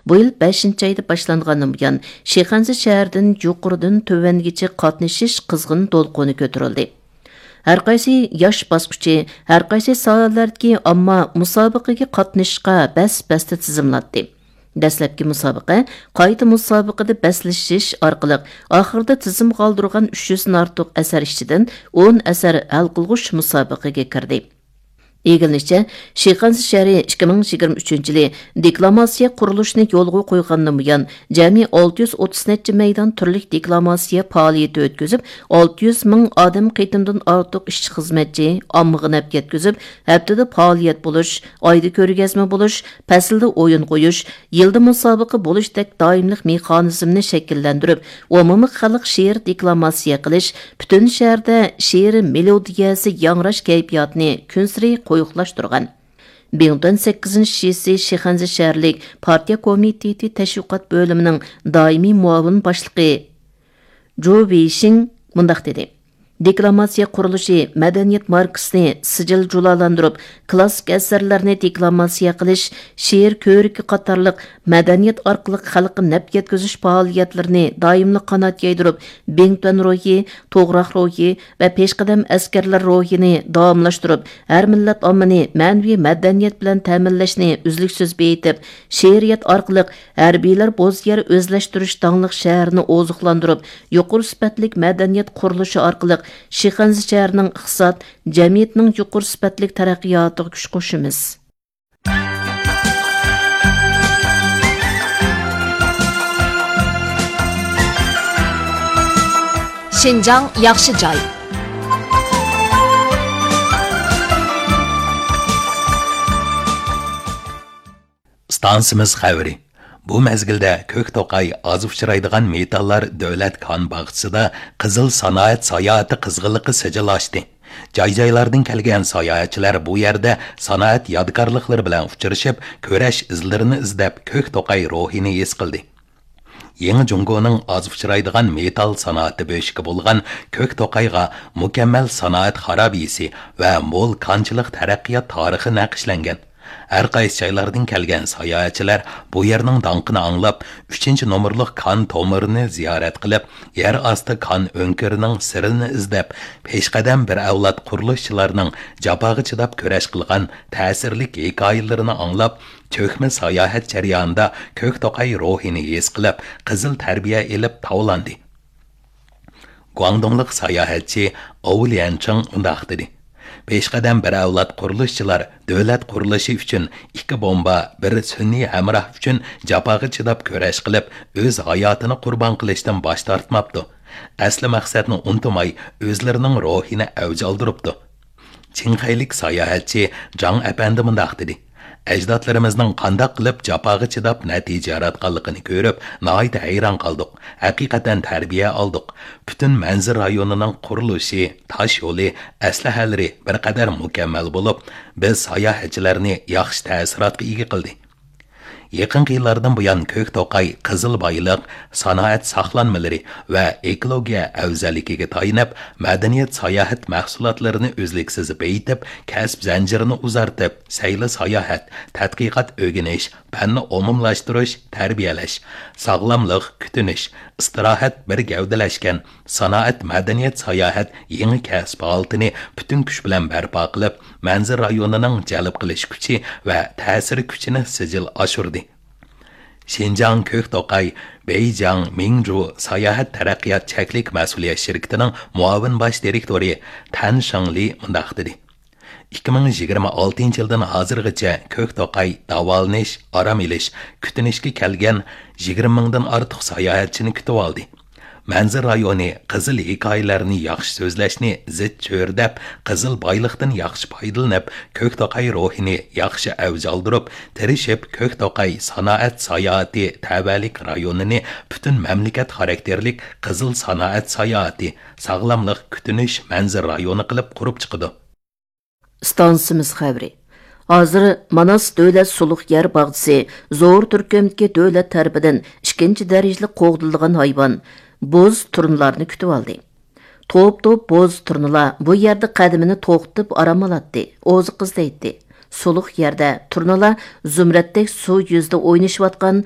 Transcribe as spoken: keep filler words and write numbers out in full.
بۇ يىل بەشىنچى ئايدا باشلانغاندىن بۇيان، شىخەنزە شەھىرىدىن يۇقىرىدىن تۆۋەنگىچە قاتنىشىش قىزغىن دولقۇنى كۆتۈرۈلدى. ھەر قايسى ياش باسقۇچى، ھەر قايسى ساھەلەردىكى ئامما مۇسابىقىگە قاتنىشىشقا بەس-بەستە تىزىملاتتى. دەسلەپكى مۇسابىقە قايتا مۇسابىقىدە بەسلىشىش ئارقىلىق، ئاخىرىدا تىزىم قالدۇرغان ئۈچ يۈزدىن ئارتۇق ئەسەر ئىچىدىن ئون ئەسەر ھەل قىلغۇچ مۇسابىقىگە كىردى. ئىگىلىنىشىچە، شىخەنزە شەھىرى ئىككى مىڭ يىگىرمە ئۈچىنچى يىلى دېكلاماتسىيە قۇرۇلۇشىنى يولغا قويغاندىن بۇيان، جەمئىي ئالتە يۈز ئوتتۇز نەچچە مەيدان تۈرلۈك دېكلاماتسىيە پائالىيىتى ئۆتكۈزۈپ، ئالتە يۈز مىڭ ئادەم قېتىمدىن ئارتۇق ئىشچى-خىزمەتچى ئاممىغا نەپ يەتكۈزۈپ، ھەپتىدە پائالىيەت بولۇش، ئايدا كۆرگەزمە بولۇش، پەسىلدە ئويۇن قويۇش، يىلدا مۇسابىقە بولۇشتەك دائىملىق مېخانىزمنى شەكىللەندۈرۈپ، ئومۇمىي خەلق شېئىر دېكلاماتسىيە قىلىش، پۈتۈن شەھەردە شېئىر مېلودىيەسى ياڭراش كەيپىياتىنى كۈنسېرى قويۇقلاشتۇرغان. بىڭتۈەن سەككىزىنچى شىسى شىخەنزە شەھەرلىك پارتىيە كومىتېتى تەشۋىقات بۆلۈمىنىڭ دائىمىي مۇئاۋىن باشلىقى جۇ ۋېيشىڭ مۇنداق دېدى: دېكلاماتسىيە قۇرۇلۇشى مەدەنىيەت ماركىسىنى سىجىل جۇلالاندۇرۇپ، كىلاسسىك ئەسەرلەرنى دېكلاماتسىيە قىلىش، شېئىر كۆرىكى قاتارلىق مەدەنىيەت ئارقىلىق خەلققە نەپ يەتكۈزۈش پائالىيەتلىرىنى دائىملىق قانات يايدۇرۇپ، بىڭتۈەن روھى، توغراق روھى ۋە پېشقەدەم ئەسكەرلەر روھىنى داۋاملاشتۇرۇپ، ھەر مىللەت ئاممىنى مەنىۋى مەدەنىيەت بىلەن تەمىنلەشنى ئۈزلۈكسىز بېيىتىپ، شېئىرىيەت ئارقىلىق ھەربىيلەر بوز يەر ئۆزلەشتۈرۈش داڭلىق شەھىرىنى ئوزۇقلاندۇرۇپ، يۇقىرى سۈپەتلىك مەدەنىيەت قۇرۇلۇشى ئارقىلىق شىخەنزە شەھىرىنىڭ ئىقتىساد، جەمئىيەتنىڭ يۇقىرى سۈپەتلىك تەرەققىياتىغا كۈچ قوشىمىز. شىنجاڭ ياخشى جاي. ئىستانسىمىز خەۋىرى. بۇ مەزگىلدە كۆك توقاي ئاز ئۇچرايدىغان مېتاللار دۆلەت كان باغچىسىدا قىزىل سانائەت ساياھىتى قىزغىنلىقى سىجىل ئاچتى. جاي-جايلاردىن كەلگەن ساياھەتچىلەر بۇ يەردە سانائەت يادىكارلىقلىرى بىلەن ئۇچرىشىپ، كۈرەش ئىزلىرىنى ئىزدەپ، كۆك توقاي روھىنى ھېس قىلدى. يېڭى جۇڭگونىڭ ئاز ئۇچرايدىغان مېتال سانائىتى بۆشۈكى بولغان كۆك توقايغا مۇكەممەل سانائەت خارابىسى ۋە مول كانچىلىق تەرەققىيات تارىخى نەقىشلەنگەن. ھەر قايسى جايلاردىن كەلگەن ساياھەتچىلەر بۇ يەرنىڭ داڭقىنى ئاڭلاپ، ئۈچىنچى نومۇرلۇق كان تومۇرىنى زىيارەت قىلىپ، يەر ئاستى كان ئۆڭكۈرىنىڭ سىرىنى ئىزدەپ، پېشقەدەم بىر ئەۋلاد قۇرۇلۇشچىلارنىڭ جاپاغا چىداپ كۈرەش قىلغان تەسىرلىك ھېكايىلىرىنى ئاڭلاپ، چۆكمە ساياھەت جەريانىدا كۆك توقاي روھىنى ھېس قىلىپ، قىزىل تەربىيە ئېلىپ تاۋلاندى. گۇاڭدۇڭلۇق ساياھەتچى ئاۋۇ ليەنچىڭ مۇنداق دېدى: پېشقەدەم بىر ئەۋلاد قۇرۇلۇشچىلار دۆلەت قۇرۇلۇشى ئۈچۈن ئىككى بومبا، بىر سۈنئىي ھەمراھ ئۈچۈن جاپاغا چىداپ كۈرەش قىلىپ، ئۆز ھاياتىنى قۇربان قىلىشتىن باش تارتماپتۇ. ئەسلى مەقسەتنى ئۇنتۇماي، ئۆزلىرىنىڭ روھىنى ئەۋج ئالدۇرۇپتۇ. چىڭخەيلىك ساياھەتچى جاڭ ئەپەندى مۇنداق دېدى: ئەجدادلىرىمىزنىڭ قانداق قىلىپ جاپاغا چىداپ نەتىجە ياراتقانلىقىنى كۆرۈپ، ناھايىتى ھەيران قالدۇق. ھەقىقەتەن تەربىيە ئالدۇق. پۈتۈن مەنزىرە رايونىنىڭ قۇرۇلۇشى، تاش يولى، ئەسلىھەلىرى بىر قەدەر مۇكەممەل بولۇپ، بىز ساياھەتچىلەرنى ياخشى تەسىراتقا ئىگە قىلدى. يېقىنقى يىللاردىن بۇيان، كۆك توقاي قىزىل بايلىق، سانائەت ساقلانمىلىرى ۋە ئېكولوگىيە ئەۋزەللىكىگە تايىنىپ، مەدەنىيەت ساياھەت مەھسۇلاتلىرىنى ئۈزلۈكسىز بېيىتىپ، كەسىپ زەنجىرىنى ئۇزارتىپ، سەيلە ساياھەت، تەتقىقات ئۆگىنىش، پەننى ئومۇملاشتۇرۇش، تەربىيەلەش، ساغلاملىق، كۈتۈنۈش، ئىستىراھەت بىر گەۋدىلەشكەن سانائەت، مەدەنىيەت، ساياھەت يېڭى كەسىپ ھالىتىنى پۈتۈن كۈچ بىلەن بەرپا قىلىپ، مەنزىرە رايونىنىڭ جەلپ قىلىش كۈچى ۋە تەسىر كۈچىنى سىجىل ئاشۇردى. شىنجاڭ كۆك توقاي بېيجىڭ مىڭجۇ ساياھەت تەرەققىيات چەكلىك مەسئۇلىيەت شىركىتىنىڭ مۇئاۋىن باش دىرېكتورى تەن شېڭلى مۇنداق دېدى: ئىككى مىڭ يىگىرمە ئالتىنچى يىلدىن ھازىرغىچە كۆك توقاي داۋالىنىش، ئارام ئېلىش، كۈتۈنۈشكە كەلگەن يىگىرمە مىڭدىن ئارتۇق ساياھەتچىنى كۈتۈۋالدى. مەنزىرە رايونى قىزىل ھېكايىلەرنى ياخشى سۆزلەشنى زىچ چۆرىدەپ، قىزىل بايلىقتىن ياخشى پايدىلىنىپ، كۆك توقاي روھىنى ياخشى ئەۋج ئالدۇرۇپ، تىرىشىپ، كۆك توقاي سانائەت ساياھىتى تەۋەلىك رايونىنى پۈتۈن مەملىكەت خاراكتېرلىك قىزىل سانائەت ساياھىتى، ساغلاملىق، كۈتۈنۈش مەنزىرە رايونى قىلىپ قۇرۇپ چىقىدۇ. ئىستانسىمىز خەۋىرى. ھازىر ماناس دۆلەت سۇلۇق يەر باغچىسى زور تۈركۈمدىكى دۆلەت تەرىپىدىن ئىككىنچى دەرىجىلىك قوغدىلىدىغان ھايۋان، بوز تۇرنىلارنى كۈتۈۋالدى. توپ-توپ بوز تۇرنىلار بۇ يەردە قەدىمىنى توختىتىپ ئارام ئالاتتى، ئوزۇق ئىزدەيتتى. سۇلۇق يەردە تۇرنىلار زۇمرەتتەك سۇ يۈزىدە ئوينىشىۋاتقان